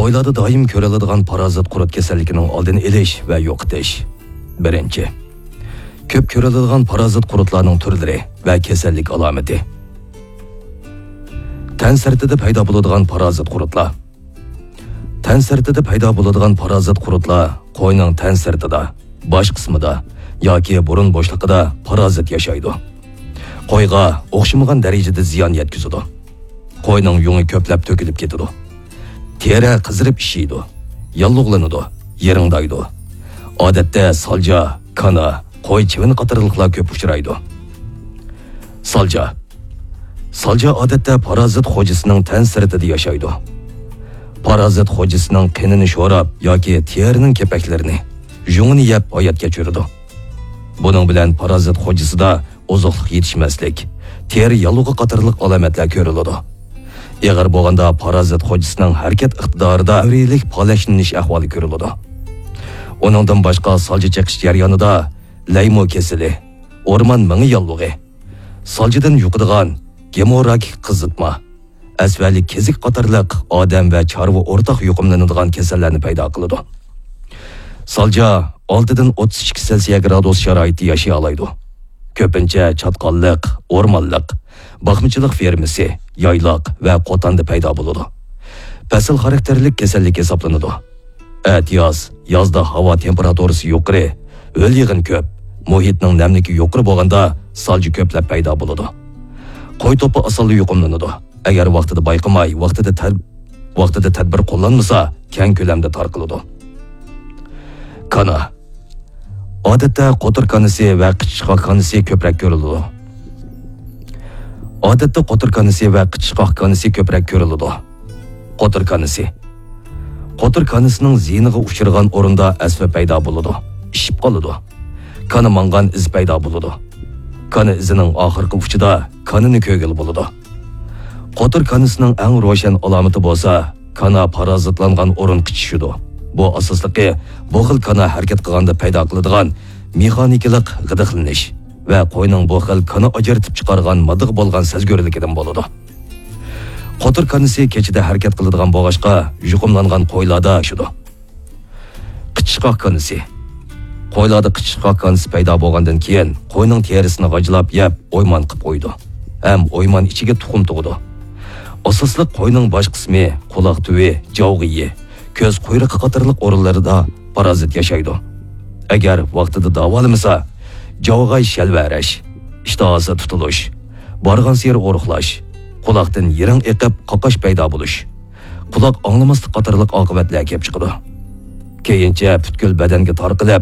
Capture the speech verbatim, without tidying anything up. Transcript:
قويلاردا دائىم كۆرۈلىدىغان پارازىت قۇرت كېسەللىكىنىڭ ئالدىنى ئېلىش ۋە يوقىتىش. بىرىنچى، كۆپ كۆرۈلىدىغان پارازىت قۇرتلارنىڭ تۈرلىرى ۋە كېسەللىك ئالامىتى. تەن سىرتىدا پەيدا بولىدىغان پارازىت قۇرتلار. تەن سىرتىدا پەيدا بولىدىغان پارازىت قۇرتلار قوينىڭ تەن سىرتىدا، باش قىسمىدا ياكى بۇرۇن بوشلۇقىدا پارازىت ياشايدۇ. قويغا ئوخشىمىغان دەرىجىدە زىيان يەتكۈزىدۇ. قوينىڭ يۇڭى كۆپلەپ تۆكۈلۈپ كېتىدۇ. تېرە قىزىرىپ ئىششىيدۇ، ياللۇغلىنىدۇ، يىرىڭدايدۇ. ئادەتتە سالجا، كانا، قوي چىۋىن قاتارلىقلار كۆپ ئۇچرايدۇ. سالجا. سالجا ئادەتتە پارازىت خوجىسىنىڭ تەن سىرتىدا ياشايدۇ. پارازىت خوجىسىنىڭ قېنىنى شوراپ ياكى تېرىنىڭ كېپەكلىرىنى، يۇڭىنى يەپ ھايات كەچۈرىدۇ. بۇنىڭ بىلەن پارازىت خوجىسىدا ئوزۇقلۇق يېتىشمەسلىك، تېرە ياللۇغى قاتارلىق ئالامەتلەر كۆرۈلىدۇ. ئېغىر بولغاندا پارازىت خوجىسىنىڭ ھەرىكەت ئىقتىدارىدا دەۋرىيلىك پالەچلىنىش ئەھۋالى كۆرۈلىدۇ. ئۇنىڭدىن باشقا سالجا چېقىش جەريانىدا لەيمو كېسىلى، ئورمان مېڭە ياللۇغى، سالجىدىن يۇقىدىغان گېموراگىك قىزىتما، ئەسۋەلىك كېزىك قاتارلىق ئادەم ۋە چارۋا ئورتاق يۇقۇملىنىدىغان كېسەللەرنى پەيدا قىلىدۇ. سالجا ئالتىدىن ئوتتۇز ئىككى سېلسىيە گرادۇس شارائىتتا ياشىيالايدۇ. كۆپىنچە چاتقاللىق، ئورمانلىق، باقمىچىلىق فېرمىسى، يايلاق ۋە قوتاندا پەيدا بولىدۇ. پەسىل خاراكتېرلىك كېسەللىك ھېسابلىنىدۇ. ئەتىياز، يازدا ھاۋا تېمپېراتۇرىسى يۇقىرى، ھۆل-يېغىن كۆپ، مۇھىتنىڭ نەملىكى يۇقىرى بولغاندا سالجا كۆپلەپ پەيدا بولىدۇ. قوي توپا ئاسانلا يۇقۇملىنىدۇ. ئەگەر ۋاقتىدا بايقىماي، ۋاقتىدا تەر-، ۋاقتىدا تەدبىر قوللانمىسا، كەڭ كۆلەمدە تارقىلىدۇ. كانا. ئادەتتە قوتۇر كانىسى ۋە قىچىشقاق كانىسى كۆپرەك كۆرۈلىدۇ. ئادەتتە قوتۇر كانىسى ۋە قىچىشقاق كانىسى كۆپرەك كۆرۈلىدۇ. قوتۇر كانىسى. قوتۇر كانىسىنىڭ زىيىنىغا ئۇچرىغان ئورۇندا ئەسمە پەيدا بولىدۇ، ئىششىپ قالىدۇ. كانا ماڭغان ئىز پەيدا بولىدۇ. كانا ئىزىنىڭ ئاخىرقى ئۇچىدا كانىنى كۆرگىلى بولىدۇ. قوتۇر كانىسىنىڭ ئەڭ روشەن ئالامىتى بولسا، كانا پارازىتلانغان ئورۇن قىچىشىدۇ. بۇ ئاساسلىقى بۇ خىل كانا ھەرىكەت قىلغاندا پەيدا قىلىدىغان مېخانىكىلىق غىدىقلىنىش ۋە قوينىڭ بۇ خىل كانا ئاجرىتىپ چىقارغان ماددىغا بولغان سەزگۈرلۈكىدىن بولىدۇ. قوتۇر كانىسى كېچىدە ھەرىكەت قىلىدىغان بولغاچقا، يۇقۇملانغان قويلاردا ياشىدۇ. قىچىشقاق كانىسى. قويلاردا قىچىشقاق كانىسى پەيدا بولغاندىن كېيىن، قوينىڭ تېرىسىنى غاجىلاپ يەپ، ئويمان قىلىپ قويىدۇ ھەم ئويمان ئىچىگە تۇخۇم تۇغىدۇ. ئاساسلىق قوينىڭ باش قىسمى، قۇلاق تۈۋى، جاۋغىيى، كۆز قۇيرۇقى قاتارلىق ئورۇنلىرىدا پارازىت ياشايدۇ. ئەگەر ۋاقتىدا داۋالىمىسا، جاۋغاي شەلۋەرەش، ئىشتىھاسى تۇتۇلۇش، بارغانسېرى ئورۇقلاش، قۇلاقتىن يىرىڭ ئېقىپ قاقاش پەيدا بولۇش، قۇلاق ئاڭلىماسلىق قاتارلىق ئاقىۋەتلەر كېلىپ چىقىدۇ. كېيىنچە پۈتكۈل بەدەنگە تارقىلىپ،